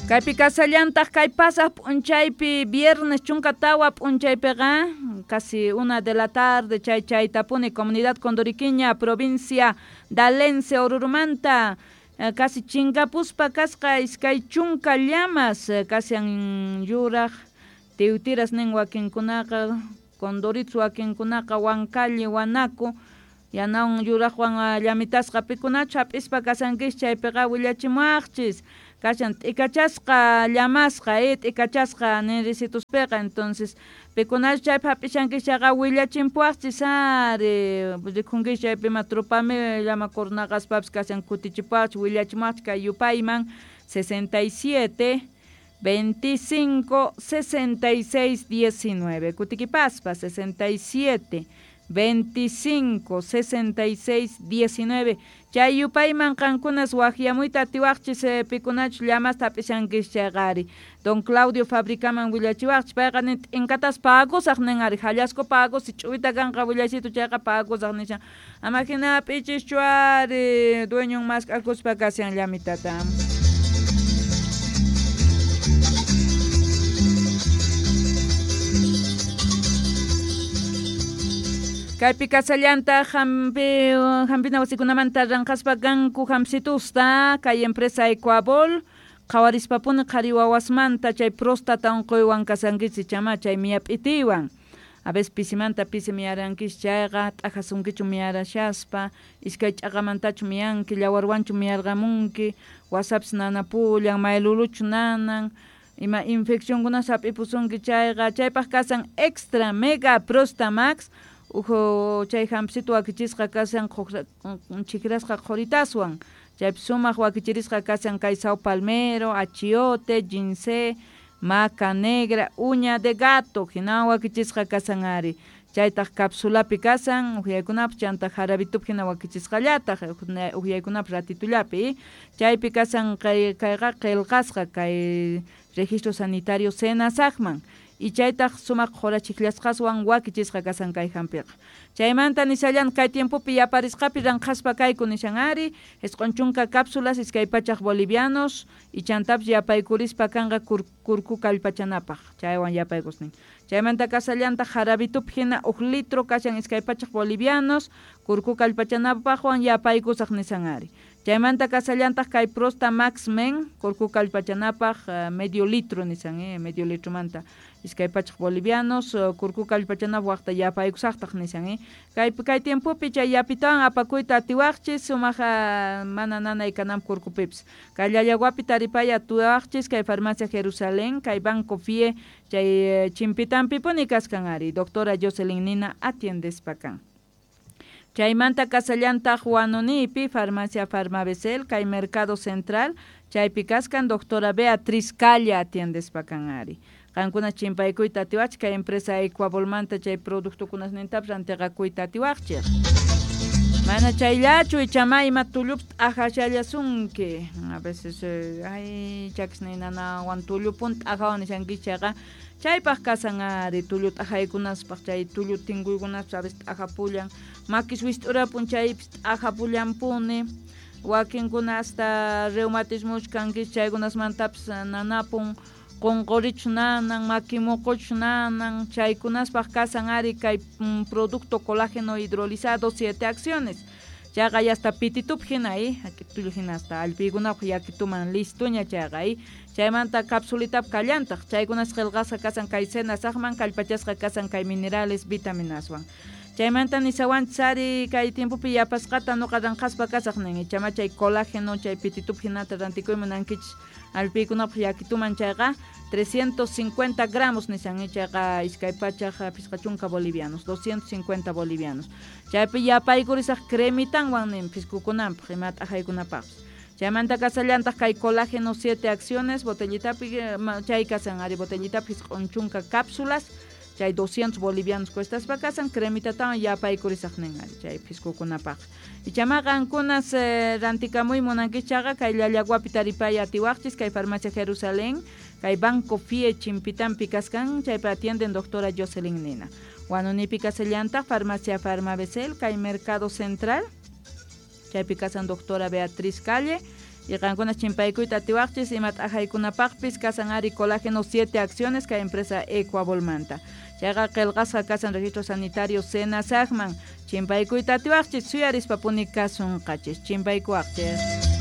Kaypi kasallantaq kay pasaq p'unchaypi viernes 14 p'unchaypiqa casi 1 de la tarde chay chaytapuni comunidad Condoriquiña provincia Dalense Orurumanta casi chinkapuspa kasqa 20 llamas kashan yuraq tiwtiras nin wakinkunaqa Condoritos wakinkunaqa Huancalli Huanaco yanawan yuraqwan llamitasqa pikunachu hap'ispa kasankichis chaypiqa willachimuwaqchis kashan t'ikachasqa llamasqa t'ikachasqa ninrisituspiqa entonces pikunachu chaypi hap'ishankichis chayqa willachimpuwaqchis ari rikhunkichis chaypi ima trupami llama kurnaqaspapis kashan kutichipuwaqchis willachimuwaqchis kay yupayman 67 25 66 19 kutikipaspa 67 25 66 19 chay yupayman qankunas waqyamuyta atiwaqchis pikunachu llamasta hap'ishankichis chayqa ari don Claudio fabricaman willachiwaqchis payqa nin t'inkatas pagusaq nin ari hallasku pagusi ch'uwita kanqa willachitu chayqa pagusaq nishan ama hina hap'ichischu ari dueñon mask'akuspa kashan llamitata. Kaypi kasallantaq hampina wasikunamanta ranqaspa kanku hampsitusta kay empresa Ecuabol qhawarispapuni qhari wawasmanta chay próstata unquywan kasankichis chama chay miyap'itiwan a veces pisimanta pisi miyarankichis chayqa t'ajasunkichu miyarashaspa iskay ch'aqamantachu miyanki llawarwanchu miyarqamunki wasapis nanapullan mayluluchu nanan ima infeccionkunas hap'ipusunki chayqa chaypaq kasan extra mega prostamax uhu chay hampsitu wakichisqa kashan chikrasqa qhuritaswan chaypi sumaq wakichirisqa kashan kay sao palmero, achiote, ginseng, maca negra, uña de gato hinawan wakichisqa kashan ari chaytaq capsulapi kashan uhyaykunapaq chanta jarabitupi hina wakichisqallataq uhyaykunapaq ratitullapi chaypi kashan kayqa qillqasqa kay registro sanitario SENASACman y chaytaq sumaq qhura chikllasqaswan wakichisqa kashan kay hampiqa chaymanta nishallan kay tiempopi yaparisqapi ranqaspa kayku nishan ari 90 cápsulas 200 bolivianos y chantapis yapaykurispa kanqa kurku kallpachanapaq chaywan yapaykusnin chaymanta kasallantaq jarabitupi hina 1 litro kashan 200 bolivianos kurku kallpachanapaqwan yapaykusaq nishan ari chaymanta kasallantaq kay Prosta Max Men kurku kallpachanapaq medio litro nishan medio litromanta 200 bolivianos kurku kallpachanapaq waqta yapaykusaqtaq nishan kay tiempopi chay yapitawan apakuyta atiwaqchis sumaq mana nanay kananpaq kurkupipis kay Llallaguapi taripay atiwaqchis kay farmacia Jerusalén kay Banco Fie chay chimpitanpipuni kaskan ari doctora Jocelyn Nina atiendespa kan. Chaymanta kasallantaq Huanonipi farmacia Farmabesel kay Mercado Central chaypi kaskan doctora Beatriz Calla atiendespa kan ari qankuna chimpaykuyta atiwaqchik kay empresa Ecuabolmanta chay productokunasnintapis rantiqakuyta atiwaqchik mana chayllachu ichama ima tullupis t'ajashallasunki a veces ay chakisniy nanawan tullupun t'ajawan nishankichis chayqa chaypaq kasan ari tullu t'ajaykunaspaq chay tullu tinkuykunaspis a veces t'ajapullan makis wist'urapun chaypis t'ajapullanpuni wakinkuna hasta reumatismochu kankichis chaykunasmantapis nanapun qunqurichu nanan maki muquchu nanan chaykunaspaq kasan ari kay producto colágeno hidrolizado 7 acciones chayqa hasta pititupi hina tullu hina hasta allpiykunapaq yakituman listuña chayqa chaymanta capsulitapi kallantaq chaykunas qillqasqa kasan kay SENASACman kallpachasqa kasan kay minerales vitaminaswan chaymanta nishawanchis ari kay tiempopi yapasqata nuqa ranqaspa kasaq nin ichama chay colágeno chay pititupi hinata rantikuy munankichis allpiykunapaq yakituman chayqa 350 gramos nishan chayqa 250 bolivianos 250 bolivianos chaypi yapaykurisaq cremitanwan nin piskukunanpaq ima t'ajaykunapaqpis chaymanta kasallantaq kay colágeno 7 acciones botellitapi chay kasan ari botellitapi 90 cápsulas chay 200 bolivianos cuestaspa kasan cremitatawan yapaykurisaq nin ari chay piskukunapaq ichama qankunas rantikamuy munankichis chayqa kay Llallaguapi taripay atiwaqchis kay farmacia Jerusalén kay Banco Fie chimpitanpi kaskan chaypi atienden doctora Jocelyn Nina Huanonipi kasallantaq farmacia Farmabesel kay Mercado Central chaypi kasan doctora Beatriz Calle Y qankuna chimpaykuyta atiwaqchis ima t'ajaykunapaqpis kasan ari colágeno 7 acciones kay empresa Ecuabolmanta. Chayqa qillqasqa kasan registro sanitario SENASAGman chimpaykuyta atiwaqchis suyarispapuni kasunqachis chimpaykuwaqchis.